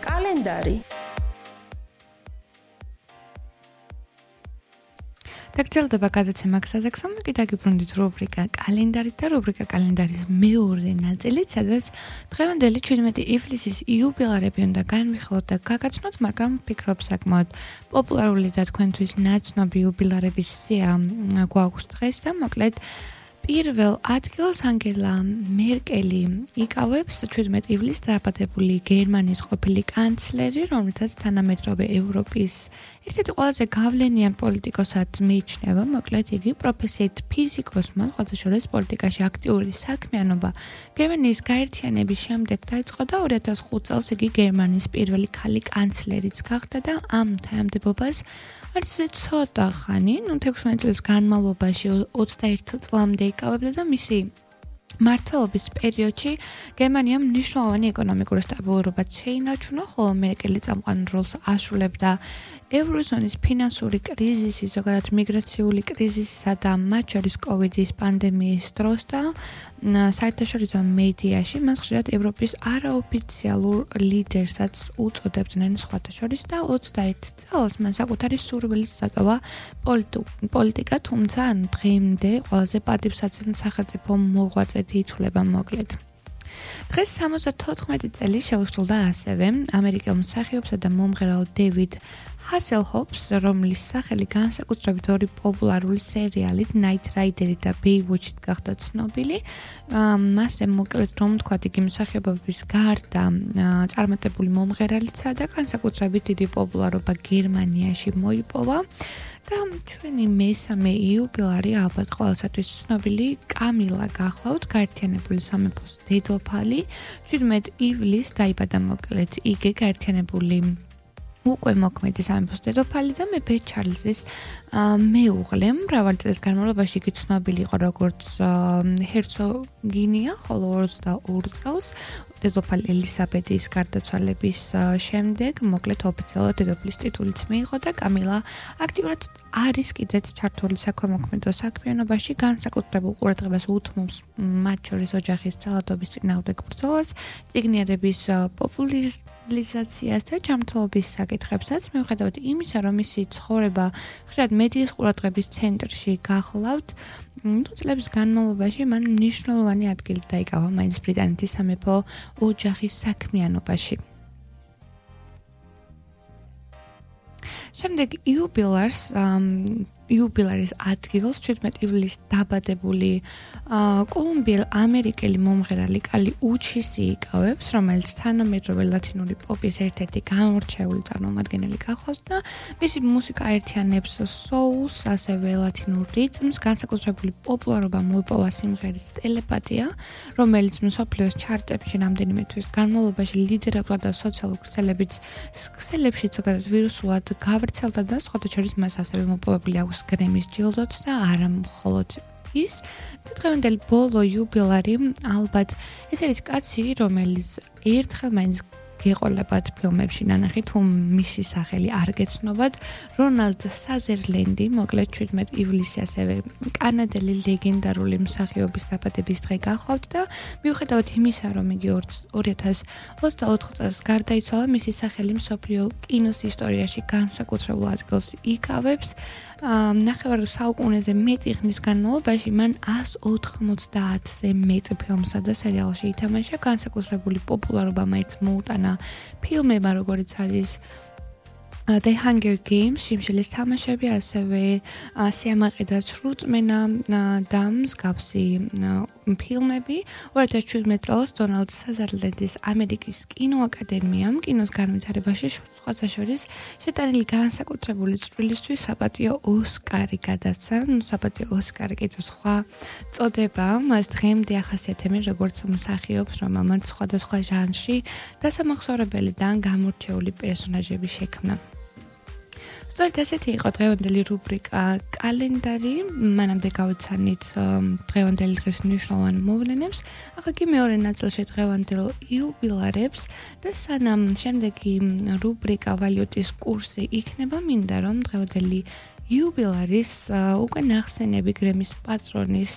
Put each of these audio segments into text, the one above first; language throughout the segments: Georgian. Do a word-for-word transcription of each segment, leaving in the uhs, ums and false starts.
კალენდარი. დაგრძელდება გადაცემა გზადაგზავნე კი დაგიბრუნდით რუბრიკა კალენდარი და რუბრიკა კალენდარის მეორე ნაწილი, სადაც დღევანდელი შვიდმეტი ივლისის იუბილარები უნდა განვიხილოთ და გაგაცნოთ, მაგრამ ვფიქრობ საკმაოდ პოპულარული და თქვენთვის ნაცნობი იუბილარების სია გვაქვს დღეს და მოკლედ პირველ ადგილს ანგელა მერკელი იკავებს შვიდმეტი ივლისს დაბადებული გერმანიის ყოფილი კანცლერი, რომელთაც თანამედროვე ევროპის ერთ-ერთი ყველაზე გავლენიან პოლიტიკოსად მიიჩნევა, მოკლედ იგი პროფესიით ფიზიკოსმა, ხოთაშორის პოლიტიკაში აქტიური საქმიანობა გერმანიის გაერთიანების შემდეგ დაიწყო და ორი ათას ხუთ წელს იგი გერმანიის პირველი ქალი კანცლერიც გახდა და ამ თანამდებობას არც ისე ცოტა ხანი, ნუ თექვსმეტ წლის განმავლობაში ოცდაერთი წლამდე იკავებდა და მისი მმართველობის პერიოდში გერმანიამ მნიშვნელოვანი ეკონომიკური სტაბილურობა შეინარჩუნა, ხოლო მერკელი წამყვან როლს ასრულებდა ევროზონის ფინანსური კრიზისის, ზოგადად მიგრაციული კრიზისისა და მათ შორის კოვიდის პანდემიის დროს და საერთაშორისო მედიაში მას ხშირად ევროპის არაოფიციალურ ლიდერსაც უწოდებდნენ სხვათა შორის და ოცდაერთ წელს მან საკუთარი სურვილით დატოვა პოლიტიკა, თუმცა დღემდე ყველაზე პატივსაცემი სახელმწიფო მოღვაწედი ითვლება მოკლედ. დღეს სამოცდათოთხმეტი წელი შეუსრულდა ასევე ამერიკელ მსახიობსა და მომღერალ დევიდ ჰასელჰოფს, რომლის სახელი განსაკუთრებით ორი პოპულარული სერიალით Knight Rider და Baywatch-ით გახდა ცნობილი. მასზე მოკლედ რომ ვთქვათ, იგი მსახიობობის გარდა წარმატებული მომღერალიცაა და განსაკუთრებით დიდი პოპულარობა გერმანიაში მოიპოვა. და ჩვენი მესამე იუბილარი ალბათ ყველასათვის ცნობილი კამილა გახლავთ, გაერთიანებული სამეფოს დედოფალი. შვიდმეტ ივლისს დაიბადა მოკლედ იგი გაერთიანებული უკვე მოქმედი სამეფოს დედოფალი და მეფე ჩარლზის მეუღლე. მრავალი წლის განმავლობაში იგი ცნობილი იყო როგორც ჰერცოგინია, ხოლო ოცდაორ წელს დედოფალი ელისაბედის გარდაცვალების შემდეგ მოკლედ ოფიციალურად დედოფლის ტიტულიც მიიღო და კამილა აქტიურად არის კიდეც ჩართული საქველმოქმედო საქმიანობაში, განსაკუთრებულ ყურადღებას უთმობს მათ შორის ოჯახის ძალადობის წინააღმდეგ ბრძოლას, წიგნიერების პოპულარიზაციას და ჯანმრთელობის საკითხებსაც, მიუხედავად იმისა, რომ მისი ცხოვრება ხშირად მედიის ყურადღების ცენტრში გახლავთ, წლების განმავლობაში მან მნიშვნელოვანი ადგილი დაიკავა მაინც ბრიტანეთის სამეფო ოჯახის საქმიანობაში. შემდეგ იუბილარს იუბილარის ადგილს შვიდმეტ ივლისს დაბადებული კოლუმბიელ ამერიკელი მომღერალი კალი უჩისი იკავებს, რომელიც თანამედროვე ლათინური პოპის ერთ-ერთი გამორჩეული წარმომადგენელი გახლავს და მისი მუსიკა აერთიანებს soul-ს, ასევე ლათინურ რიტმს. განსაკუთრებული პოპულარობა მოიპოვა სიმღერის ტელეპათია, რომელიც მსოფლიოს ჩარტებში რამდენიმე თვის განმავლობაში ლიდერობდა და სოციალურ ქსელებში ზოგადად ვირუსულად გავრცელდა და სხვათა შორის მას ასევე მოპოვებული აქვს გრემის ჯილდოც და არა მხოლოდ ის. და დღევანდელი ბოლო იუბილარი ალბათ ეს არის კაცი, რომელიც ერთხელ მაინც გეყოლებათ ფილმებში ნანახი, თუ მისი სახელი არ გეცნობათ, რონალდ საზერლენდი, მოკლედ შვიდმეტ ივლისი ასევე კანადელი ლეგენდარული მსახიობის დაბადების დღე გახლავთ და მიუხედავად იმისა, რომ იგი ორი ათას ოცდაოთხ წელს გარდაიცვალა, მისი სახელი მსოფლიო კინოს ისტორიაში განსაკუთრებულ ადგილს იკავებს. ნახევარ საუკუნეზე მეტი ხნის განმავლობაში მან ას ოთხმოცდაათზე მეტ ფილმსა და სერიალში ითამაშა, განსაკუთრებული პოპულარობა მაინც მოუტანა ფილმებმა, როგორც არის The Hunger Games, შიმშილის თამაშები, ასევე სიამაყე და ცრუწმენა და მსგავსი ფილმები. ორი ათას შვიდმეტ წელს დონალდ საზერლენდის ამერიკის კინოაკადემიამ კინოს განვითარებაში სხვათა შორის შეტანილი განსაკუთრებული წვლილისთვის საპატიო ოსკარი გადასცა. საპატიო ოსკარი კიდევ სხვა წოდება, მას დღემდე ახასიათებენ როგორც მსახიობს, რომელმაც სხვადასხვა ჟანრში დასამახსოვრებელი და გამორჩეული პერსონაჟები შექმნა. სწორედ ასეთი იყო დღევანდელი რუბრიკა კალენდარი. მანამდე გავიცანით დღევანდელი დღის მნიშვნელოვან მოვლენებს. ახლა კი მეორე ნაწილში დღევანდელ იუბილარებს და სანამ შემდეგი რუბრიკა ვალიუტის კურსი იქნება, მინდა რომ დღევანდელი იუბილარის უკვე ნახსენები გრემის პატრონის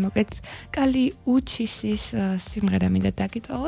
მოკეთ კალი უჩისის სიმღერა მინდა დაგიტოვოთ.